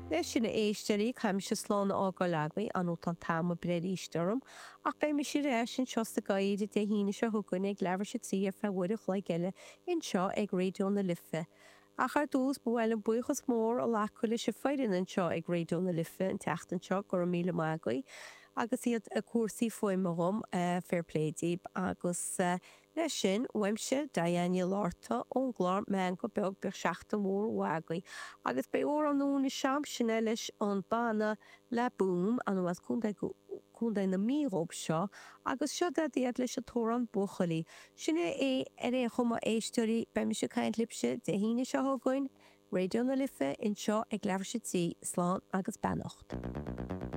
Leis sin, a éisteoirí, caithfidh mise slán a fhágáil agaibh, ar ndóigh tá an t-am ag breith arís orm, ach beidh mise ar ais anseo sa gcathaoir Dé hAoine seo chugainn ag leathuair tar éis a 3 ar feadh uair a chloig eile anseo ag Raidió na Life. Ach ar dtús, ba mhaith liom buíochas mór a ghlacadh leis an foireann anseo ag Raidió na Life an tseachtain seo, go raibh míle maith agaibh agus iad ag cúrsaí fuaime dhom, fair play díb agus. Leis sin, uaimse, Diane Ní Fhlatharta, ón gclár Meangadh Beag, bíodh seachtain mhór mhaith agaibh. Agus beidh amhrán úr ins an am sin leis an banna La Boum, as Contae, Contae na Mí dhób seo, agus seo iad leis an t-amhrán Buachaillí. Sin é ar aon chuma, a éisteoirí, beidh mise ag caint libhse Dé hAoine seo chugainn, Raidió na Life, anseo ag leathuair tar éis a 3, slán agus beannacht.